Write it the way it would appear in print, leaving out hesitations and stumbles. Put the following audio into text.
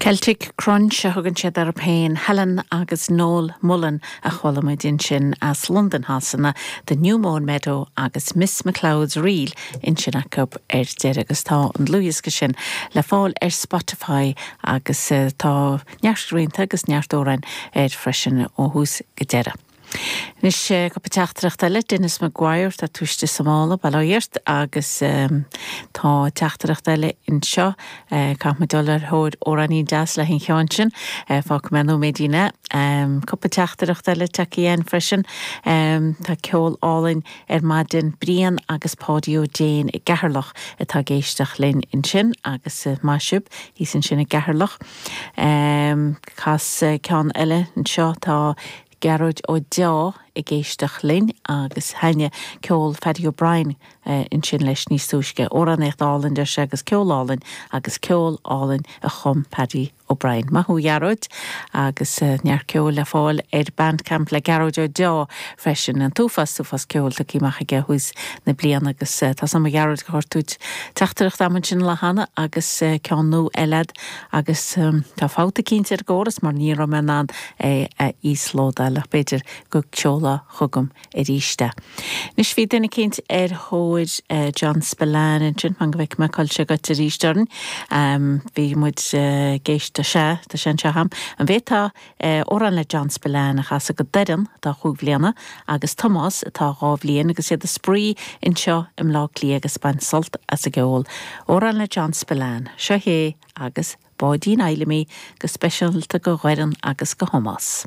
Celtic Crunch a thugann siad orthu féin, Helen agus Noel Mullen a chuala muid ansin as Londain Shasana, The New Mown Meadow agus Miss McLeod's Reel ansin acu ar deireadh agus tá an dlúthdhiosca sin le fáil ar Spotify agus tá neart rianta agus neart amhráin air freisin ó thús go deireadh. Anois, cúpla teachtaireacht eile, Denis Maguire, tá tú istigh sa mála, bail ó Dhia ort, agus tá teachtaireacht eile anseo, caithfidh muid dul ar thóir amhráinín deas le haghaidh an cheann sin, fágfaidh mé nóiméidín é. Cúpla teachtaireacht eile tagtha againn freisin, tá ceol álainn ar maidin, Brian agus Páidí Ó Déin i gCeatharlach atá ag éisteacht linn ansin agus maith sibh thíos ansin i gCeatharlach. Cas ceann eile anseo, tá Gearóid Ó Deá ag éisteacht linn agus thaitnigh ceol Phaddy O'Brien ansin leis níos túisce. Amhránaíocht álainn, deir sé, agus ceol álainn agus ceol álainn a chum Paddy O'Brien. Maith thú a Ghearóid agus neart ceoil le fáil ar Bandcamp le Gearóid Ó Deá freisin. An t-uafás, uafás ceoil tugtha amach aige ó thús na bliana agus tá 's a'm a Ghearóid gur chuir tú teachtaireacht a'm ansin an lá cheana agus ceann nua eile a'd agus tá fabht eicínt ar an gcóras mar ní raibh mé in ann é a íoslódáil ach b'fhéidir go seolfá chugam arís é. Anois bhí duine eicínt ar thóir John Spillane ansin, fan go bhfeicfidh mé cá bhfuil sé goite arís orainn. Bhí muid ag éisteacht, sea, tá sé anseo a'm. An bhféadfá amhrán le John Spillane a chasadh go Doireann atá chúig bhliana agus Tomás atá dhá bhliain agus iad ag spraoi anseo i mBleá Cliath agus ag baint sult as an gceol. Amhrán le John Spillane. Seo é agus. Báidín Fheidhlimí, go speisialta go Dhoireann agus go Thomás.